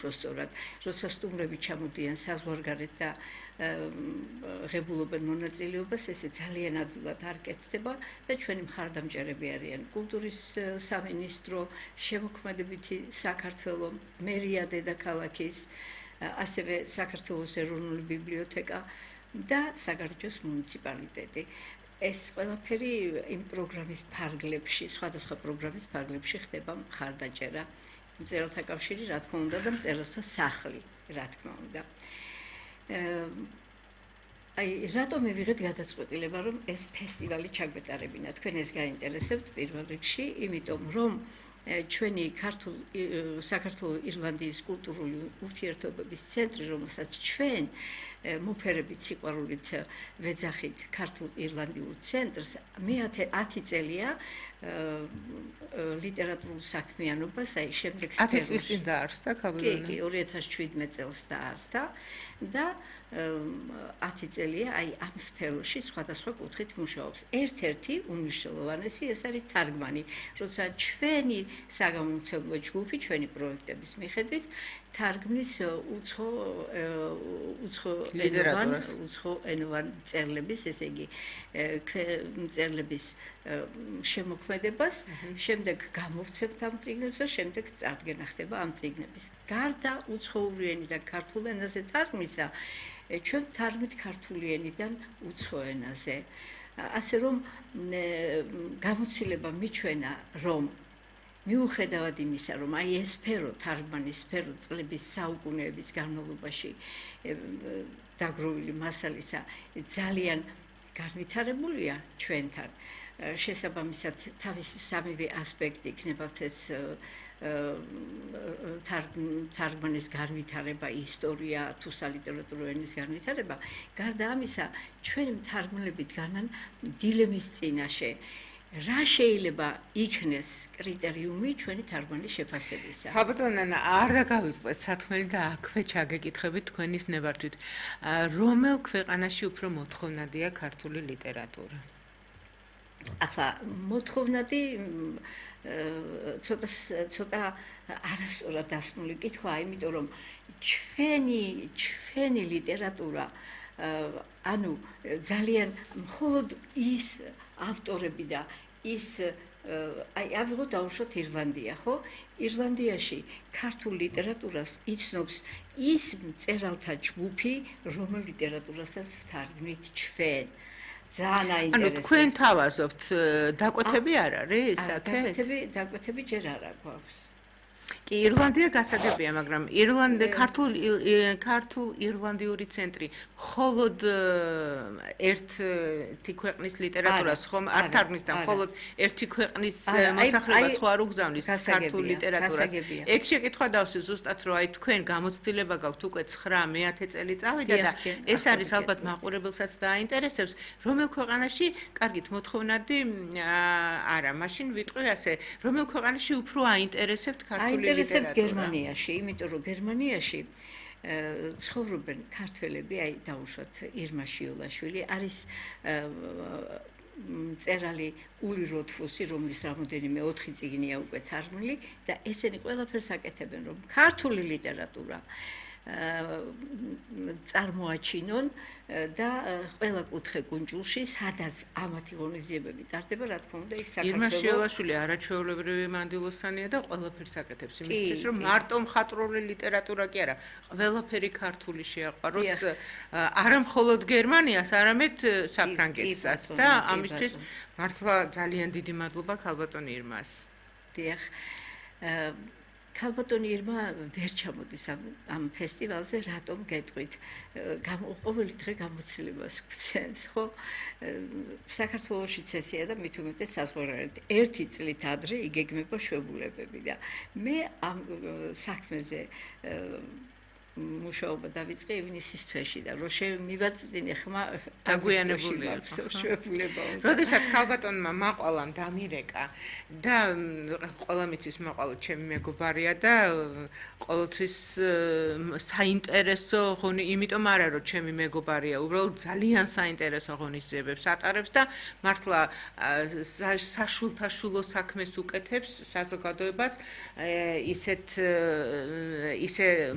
Προσωρად, როცა სტუმრები ჩამოდიან საზღვარგარეთ და ღებულობენ მონაწილეობას, ესე ძალიან ადვილად არ კეთდება და ჩვენი მხარდამჭერები არიან კულტურის სამინისტრო, შემოქმედებითი საქართველო, მერია დედაქალაქის, ასევე საქართველოს ეროვნული ბიბლიოთეკა და საგარეჯოს მუნიციპალიტეტი. ეს ყველაფერი იმ პროგრამის ფარგლებში, სხვადასხვა პროგრამის ფარგლებში ხდება მხარდაჭერა. მწერალთა კავშირი, რა თქმა უნდა, და მწერალთა სახლი, რა თქმა უნდა. რატომ მივიღეთ გადაწყვეტილება, რომ ეს ფესტივალი ჩაგვეტარებინა? თქვენ ეს გაინტერესებთ პირველ რიგში, იმიტომ რომ ჩვენი საქართველოს ირლანდიის კულტურული ურთიერთობების ცენტრი, რომელსაც ჩვენ მოფერებით სიყვარულით ვეძახით ქართულ-ირლანდიურ ცენტრს, მე 10 წელია ლიტერატურულ საქმიანობას, აი შემდეგ სფეროში. 10 წლის წინ დაარსდა ქალბატონი. კი, 2017 წელს დაარსდა და 10 წელია აი ამ სფეროში სხვადასხვა კუთხით მუშაობს. ერთ-ერთი უმნიშვნელოვანესი ეს არის თარგმანი, როცა ჩვენი საგამომცემლო ჯგუფი, ჩვენი პროექტების მიხედვით თარგმნის უცხოენოვან მწერლების, ესე იგი მწერლების შემოქმედებას, შემდეგ გამოვცემთ ამ წიგნებს და შემდეგ წარდგენა ხდება ამ წიგნების. გარდა უცხოური და ქართულ ენაზე თარგმნისა, ჩვენ თარგმნით ქართული ენიდან უცხო ენაზე. ასე რომ გამოცდილება მიჩვენა, რომ მიუხედავად იმისა, რომ აი ეს სფერო, თარგმანის სფერო წლების საუკუნეების განმავლობაში დაგროვილი მასალისა ძალიან განვითარებულია ჩვენთან. შესაბამისად, თავისი სამივე ასპექტი იქნებათ ეს თარგმანის განვითარება, ისტორია, თუ სალიტერატურო ენის განვითარება. გარდა ამისა, ჩვენი მთარგმნელებით განან დილემის წინაშე რა შეიძლება იქნეს კრიტერიუმი ჩვენი თარგმანის შეფასებისა? ქალბატონი, არ დაგავიწყეთ სათქმელი და აქვე ჩაგეკითხებით თქვენის ნებართვით. რომელ ქვეყანაში უფრო მოთხოვნადია ქართული ლიტერატურა? ახლა მოთხოვნადი ცოტა არასწორად დასმული კითხვაა, იმიტომ რომ ჩვენი ლიტერატურა ანუ ძალიან მხოლოდ ის ავტორები და ის აი ავიღოთ დავუშვათ ირლანდია, ხო? ირლანდიაში ქართულ ლიტერატურას იცნობს ის მწერალთა ჯგუფი, რომელ ლიტერატურასაც ვთარგმნით ჩვენ. ძალიან აინტერესებს. ანუ თქვენ თავაზობთ, დაკვეთები არ არის აქეთ? დაკვეთები ჯერ არ აქვს. კი, ირლანდია გასაგებია, მაგრამ ქართულ-ირლანდიური ცენტრი მხოლოდ ერთი ქვეყნის ლიტერატურას ხომ არ თარგმნის და მხოლოდ ერთი ქვეყნის მოსახლეობას ხო არ უგზავნის ქართულ ლიტერატურას. ეგ შეკითხვა დავსვი ზუსტად, რომ აი თქვენ გამოცდილება გაქვთ უკვე 9-10 წელი წავიდა და ეს არის ალბათ მაყურებელსაც დააინტერესებს, რომელ ქვეყანაში, კარგით, მოთხოვნადი არა, მაშინ ვიტყვი ასე, რომელ ქვეყანაში უფრო აინტერესებთ ქართული ლიტერატურა? აინტერესებთ გერმანიაში, იმიტომ რომ გერმანიაში ცხოვრობენ ქართველები, აი დაუშვათ ირმა შიოლაშვილი, არის მწერალი ული როთფუსი, რომლის რამოდენიმე 4 წიგნია უკვე თარგმნილი და ესენი ყველაფერს აკეთებენ, რომ ქართული ლიტერატურა წარმოაჩინონ და ყველა კუთხე კუნძულში, სადაც ამათი ღონისძიებები ტარდება, რა თქმა უნდა, იქ საქართველოს ირმა შიოლაშვილი არაჩვეულებრივი მანდილოსანია და ყველაფერს აკეთებს იმისთვის, რომ მარტო მხატვრული ლიტერატურა კი არა, ყველაფერი ქართული შეაყვაროს არა მხოლოდ გერმანიას, არამედ საფრანგეთსაც და ამისთვის მართლა ძალიან დიდი მადლობა ქალბატონი ირმას. დიახ. ქალბატონი ირმა ვერ ჩამოდის ამ ფესტივალზე, რატომ გეტყვით? ყოველი დღე გამოცდილებას გვცემს, ხო? საქართველოშიც ესეა და მით უმეტეს საზღვარგარეთ. 1 წლით ადრე იგეგმება შვებულებები და მე ამ საქმეზე მუშაობა დავიწყე ივნისის თვეში და რო მივაწვდინე ხმა დაგვიანებულია შვებულება. როდესაც ქალბატონმა მაყვალამ დამირეკა და ყველა მიცის მაყვალა ჩემი მეგობარია და ყოველთვის საინტერესო ღონი, იმიტომ არა რომ ჩემი მეგობარია, უბრალოდ ძალიან საინტერესო ღონისძიებებს ატარებს და მართლა საშულთაშულო საქმეს უკეთებს საზოგადოებას ისე